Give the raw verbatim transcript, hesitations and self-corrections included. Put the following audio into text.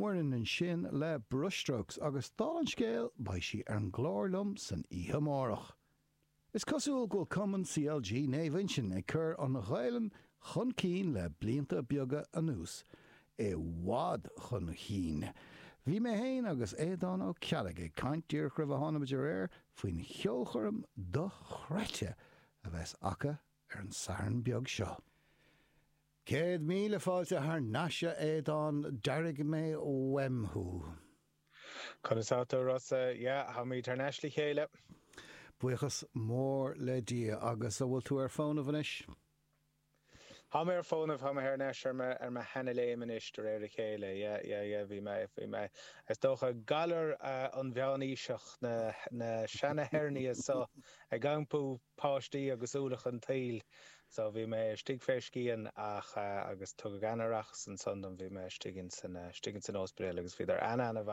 Muireann ansin le Brushstrokes agus dála an scéil beidh sí ar an gclár liom san oíche amárach. Is cosúil go bhfuil Cumann CLG Naomh Uinseann ag cur an Ghaelainn chun cinn le blianta beaga anuas, i bhfad chun cinn. Bhí mé féin agus Aodán Ó Ceallaigh ag caint díreach roimh a tháinig muid ar aer faoin cheolchoirm dochreidte a bheas acu ar an Satharn beag seo. Céad míle fáilte thar n-ais a Aodáin, d'airigh mé uaim thú. Conas tá tú a Rossa? Yeah, táimid thar n-ais le chéile. Buíochas mór le Dia. Agus an bhfuil tú ar fónamh anois? Tá mé ar fónamh, tá mé thar n-ais ar mo ar mo sheana-léim anois de réir a chéile. Yeah, yeah, yeah, bhí mé, bhí mé, is dócha, galar an mheánaoiseach, na na seana-hernia so ag iompú páistí agus ualach an tsaoil. So bhí mé istigh fé scian ach agus tugadh an-aireachas ansan dom, bhí mé istigh ins an istigh ins an ospidéal agus bhíodar an-an-mhaith liom.